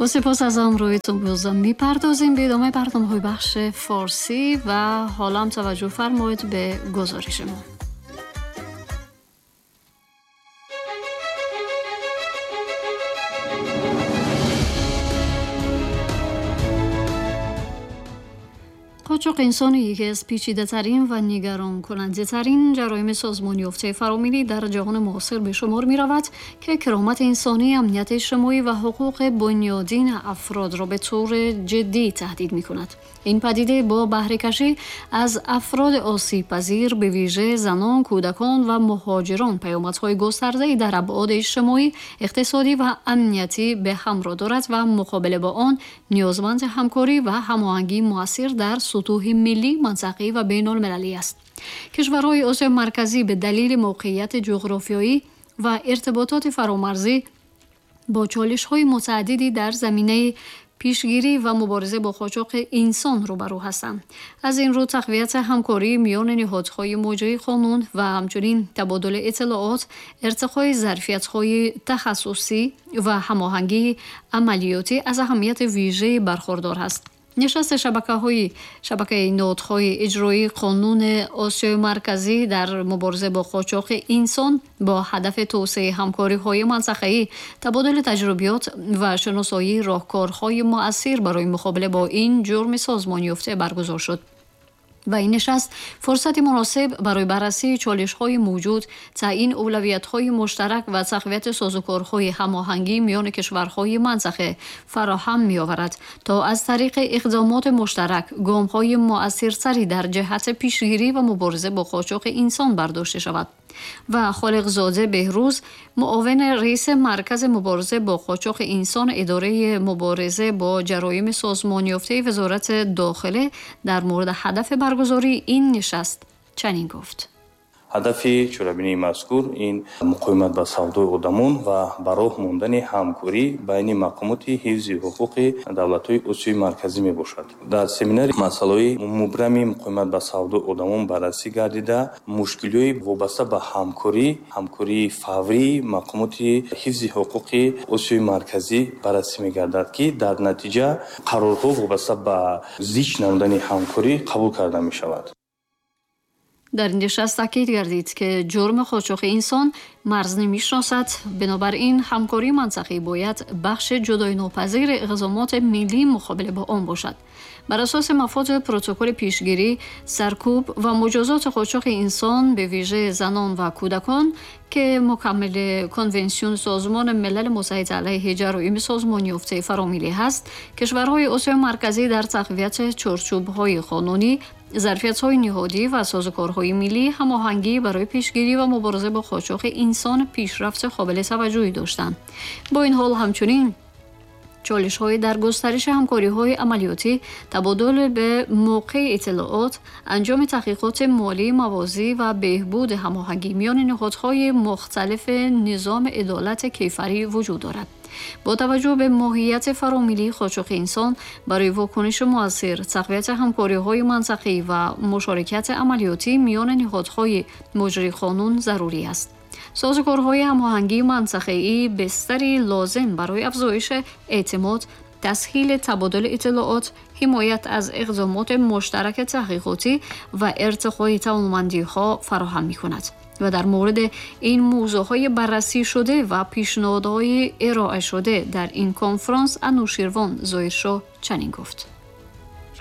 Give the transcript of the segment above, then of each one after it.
با سپاس از همراهیتون بازم میپردازیم به ادامه برنامه‌های بخش فارسی و حالا هم توجه فرمایید به گزارش ما. قاچاق انسان یکی از پیچیده‌ترین و نگران کننده‌ترین جرایم سازمان‌یافته فراملی در جهان معاصر به شمار می‌رود که کرامت انسانی، امنیت اجتماعی و حقوق بنیادین افراد را به طور جدی تهدید می‌کند. این پدیده با بهره‌کشی از افراد آسیب‌پذیر، به ویژه زنان، کودکان و مهاجران، پیامدهای گسترده‌ای در ابعاد اجتماعی، اقتصادی و امنیتی به همراه دارد و مقابله با آن نیازمند همکاری و هماهنگی مؤثر در سطوح ملی، منطقه‌ای و بین‌المللی است. کشورهای آسیای مرکزی به دلیل موقعیت جغرافیایی و ارتباطات فرامرزی با چالش‌های متعددی در زمینه پیشگیری و مبارزه با قاچاق انسان روبرو هستند. از این رو تقویت همکاری میان نهادهای مجری قانون و همچنین تبادل اطلاعات، ارتقای ظرفیت‌های تخصصی و هماهنگی عملیاتی از اهمیت ویژه برخوردار است. نشست شبکه نهادهای اجرایی قانون آسیای مرکزی در مبارزه با قاچاق انسان با هدف توسعه همکاری‌های منطقه‌ای، تبادل تجربیات و شناسایی راهکارهای مؤثر برای مقابله با این جرم سازمان‌یافته برگزار شد. و این نشست فرصت مناسب برای بررسی چالش‌های موجود، تعیین اولویت‌های مشترک و تقویت سازوکارهای هماهنگی میان کشورهای منطقه فراهم می‌آورد تا از طریق اقدامات مشترک گام‌های مؤثرتری در جهت پیشگیری و مبارزه با قاچاق انسان برداشته شود. و خالقزاده بهروز، معاون رئیس مرکز مبارزه با قاچاق انسان اداره مبارزه با جرایم سازمان‌یافته وزارت داخله، در مورد هدف برگزاری این نشست چنین گفت: ҳадафи чорабинии мазкур ин муқовимат ба савдои одамон ва ба роҳ мондани ҳамкорӣ байни мақомоти ҳифзи ҳуқуқи давлатҳои Осиёи Марказӣ мебошад. Дар семинари масъалаҳои мубрами муқовимат ба савдои одамон баррасӣ гардида, мушкилиҳои вобаста ба ҳамкорӣ, ҳамкории фаврии мақомоти ҳифзи ҳуқуқи Осиёи Марказӣ баррасӣ мегардад, ки дар натиҷа қарорҳо вобаста ба зич намудани ҳамкорӣ қабул карда мешавад. در این نشست تاکید گردید که جرم قاچاق انسان مرز نمی‌شناسد، بنابراین همکاری منطقه‌ای باید بخش جدای ناپذیر اقدامات ملی مقابله با آن باشد. بر اساس مفاد پروتکل پیشگیری، سرکوب و مجازات قاچاق انسان به ویژه زنان و کودکان که مکمل کنوانسیون سازمان ملل متحد علیه جرایم سازمان‌یافته فراملی هست، کشورهای آسیای مرکزی در تقویت چارچوب‌های قانونی، ظرفیت‌های نهادی و سازوکارهای ملی هماهنگی برای پیشگیری و مبارزه با قاچاق انسان پیشرفت قابل توجهی داشتند. با این حال همچنین چالش‌های در گسترش همکاری‌های عملیاتی، تبادل به موقع اطلاعات، انجام تحقیقات مالی موازی و بهبود هماهنگی میان نهادهای مختلف نظام عدالت کیفری وجود دارد. با توجه به ماهیت فراملی قاچاق انسان، برای واکنش مؤثر، تقویت همکاری‌های منطقه‌ای و مشارکت عملیاتی میان نهادهای مجری قانون ضروری است. سازوکارهای هماهنگی منطقه‌ای بستری لازم برای افزایش اعتماد، تسهیل تبادل اطلاعات، حمایت از اقدامات مشترک تحقیقاتی و ارتقای توانمندی‌ها فراهم می‌کند. و در مورد این موضوع‌های بررسی شده و پیشنهادهای ارائه شده در این کنفرانس انوشیروان ظاهرشاه چنین گفت: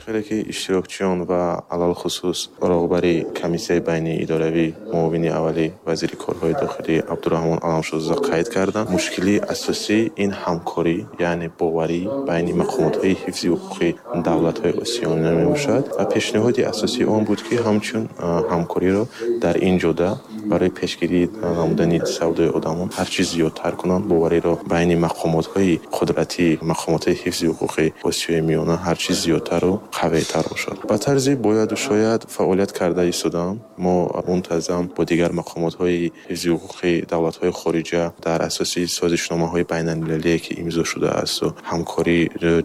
خیلی که иштирокчиён ва алалхусус роҳбари комиссияи байниидоравӣ муовини аввали вазири корҳои дохилӣ Абдураҳмон Аламшозода қайд карданд, мушкилии асосӣ ин ҳамкорӣ, яъне боварӣ байни мақомотҳои ҳифзи ҳуқуқи давлатҳои Осиёна мебошад ва пешниҳоди асосии он буд, ки ҳамчун ҳамкориро дар ин ҷода барои пешгирӣ намудани савдои одамон ҳарчи зиёдтар кунанд, бовариро байни мақомотҳои қудратӣ, мақомотҳои ҳифзи ҳуқуқи Осиёи Миёна ҳарчи зиёдтару қавитар бошад. Ба тарзи бояду шояд фаъолият карда истодаам. Мо мунтазам бо дигар мақомотҳои ҳифзи ҳуқуқи давлатҳои хориҷа дар асоси созишномаҳои байналмилалие, ки имзо шудааст ва ҳамкорӣ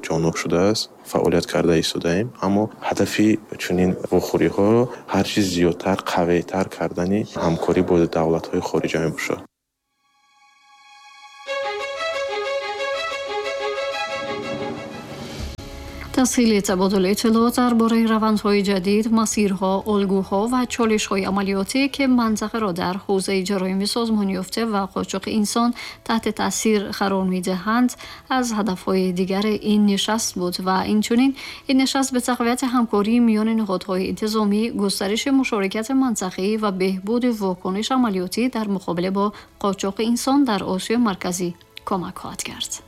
ҷонуб шудааст, фаъолият карда истодаем. Аммо ҳадафи чунин вохӯриҳоро ҳарчи зиёдтар, қавитар кардани ҳамкорӣ бо давлатҳои хориҷа мебошад. تسهیل تبادل اطلاعات درباره روندهای جدید، مسیرها، الگوها و چالش‌های عملیاتی که منطقه را در حوزه جرایم سازمان‌یافته و قاچاق انسان تحت تاثیر قرار می‌دهند، از هدف‌های دیگر این نشست بود و اینچنین این نشست به تقویت همکاری میان نهادهای انتظامی، گسترش مشارکت منطقه‌ای و بهبود واکنش عملیاتی در مقابله با قاچاق انسان در آسیای مرکزی کمک خواهد کرد.